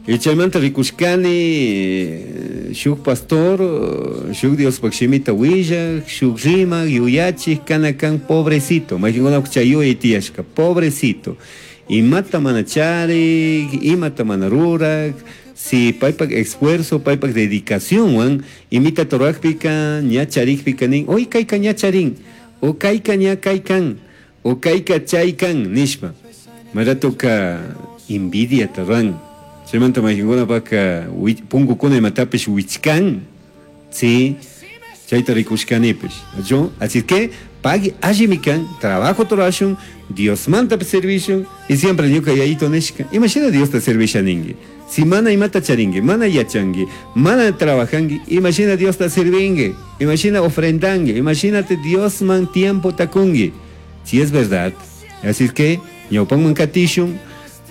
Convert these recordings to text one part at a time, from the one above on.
Y chaymanta rikushkani shuk pastor, shuk Diospaq shimita willak, shuk rimak, yuyachik kana kan pobrecito, mayqinkunapaq chay yuyay tiyashka, pobrecito. Imata mana charik, imata mana rurak, si paypak esfuerzo, paypak dedicacionwan imitata rurakpika ña charikpika nin, hoy kayka ña charin, o kayka ña kaykan, o kayka chaykan nishpa. Maratoka envidiata ruran. Chaymanta mayqinkunapaka punkukuna imatapish wichkan, sí, chayta rikushkanipish. Yo, así que pagui allimi kan, trabajo rurashun, Diosmanta servishun, y siempre ñuka yayito nishka, imashina Diosta servisha ninki. Si mana imata charinki, mana yachanki, mana trabajanki, imashina Diosta servinki, imashina ofrendanki, imagínate Diosman tiempo takunki. Si es verdad, así que ñawpanman katishun,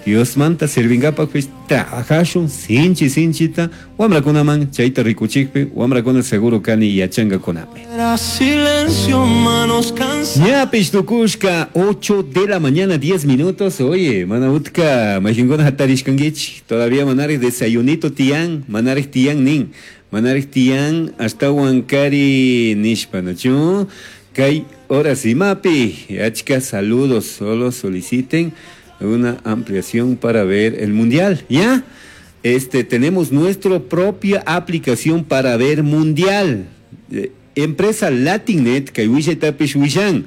Diosmanta servinkapak trabajashun sinchi sinchita wamrakunaman chayta rikuchikpi wamrakuna seguro kani yachankakunami. Era silencio, manos cansadas. Ñapish tukushka 8 de la mañana 10 minutos. Oye, mana utka mayqinkuna hatarishkankichik todavía manarik desayunito tiyan, manarik tiyan nin, manarik tiyan ashtawan kari nishpa, ¿no? Kay horas imapi, achka saludos, solo soliciten una ampliación para ver el mundial, ¿ya? Tenemos nuestra propia aplicación para ver mundial. Empresa Latinnet, kay willaytapish willan.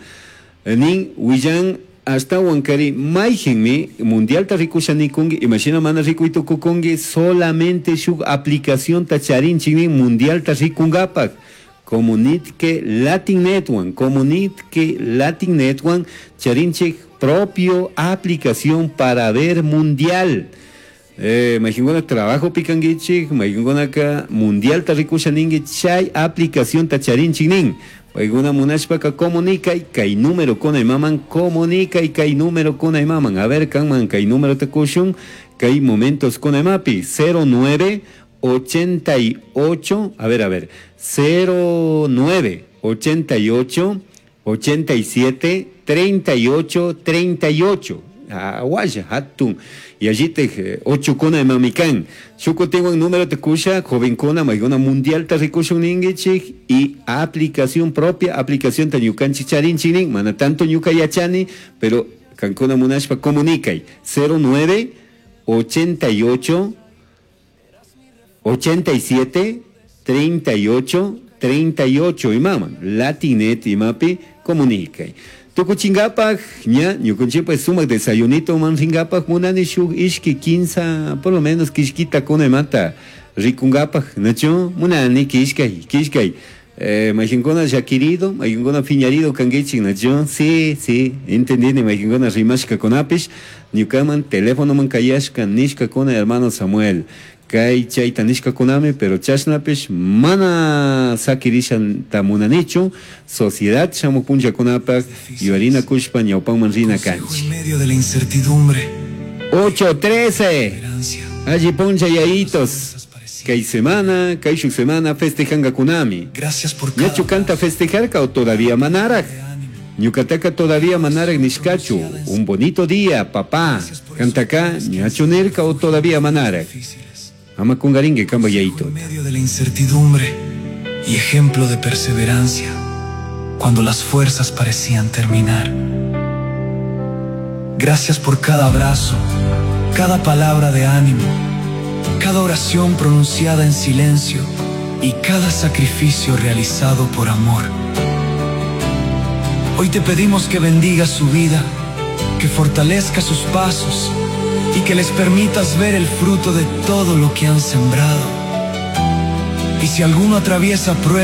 Nin willan ashtawan kari mayqinmi mundialta rikusha nikunki, imashina mana rikuytukukunki, solamente shuk aplicacionta charinchik nin mundialta rikunkapak. Comunitke Latinnet-wan, Comunitke Latinnet-wan charinchik propio aplicación para ver mundial. Mayqinkuna trabajo pikankichik, mayqinkunaka mundialta rikusha ninki, chay aplicación ta charinchik nin. Paykuna munashpaka comunicay, kay número kuna imaman, comunicay kay número kuna imaman. A ver, kanman kay número ta kushun, kay momentos kuna imapi, cero nueve ochenta y ocho, a ver, a ver, cero nueve ochenta y ocho, ochenta y siete, treinta y ocho, treinta y ocho. Aguaya, hatun. Y allí te ocho kuna de mamikan. Shuko tengo un número te kusha, joven kuna, maigona mundial te rikusha un ingechi, y aplicación propia, aplicación ta ñukan chicharin chinin, mana tanto ñuka yachani, pero kankuna munashpa comunicay. Cero nueve, ochenta y ocho, ochenta y siete, treinta y ocho, treinta y ocho, y mama, Latinet y mapi, comunicay. Tukuchingapaj, ña, ñukunchikpa sumak desayunito manringapaj, munani shuk ishki quinza, por lo menos kishkita kuna mata, rikungapaj, nacho, munani kishkay, kishkay. Mayqinkuna llakirido, mayqinkuna fiñarido kankichik, nacho, sí, sí, entendini, mayqinkuna rimashka kunapish, ñukaman teléfonoman kayashka nishka kuna hermano Samuel. Kay chayta nishka kunami, pero chashnapish mana sakirisha tamunanichu, sociedad shamuq punllakunapaq yuyarina kushpa ñawpanman rina kanchik. En medio de la incertidumbre. 8:13. Esperanza. Allí poncha yayitos. Kay semana, kay shuk semana festejanga kunami. Gracias por Ñachu cada canta festejarka o todavía manarak. Ñukataka todavía manarak nishkachu. Un bonito día, papá. Cantaka ñachu nirka o todavía manarak. Ama kungaringue kamba yaito. En medio de la incertidumbre y ejemplo de perseverancia, cuando las fuerzas parecían terminar. Gracias por cada abrazo, cada palabra de ánimo, cada oración pronunciada en silencio y cada sacrificio realizado por amor. Hoy te pedimos que bendiga su vida, que fortalezca sus pasos y que les permitas ver el fruto de todo lo que han sembrado. Y si alguno atraviesa pruebas.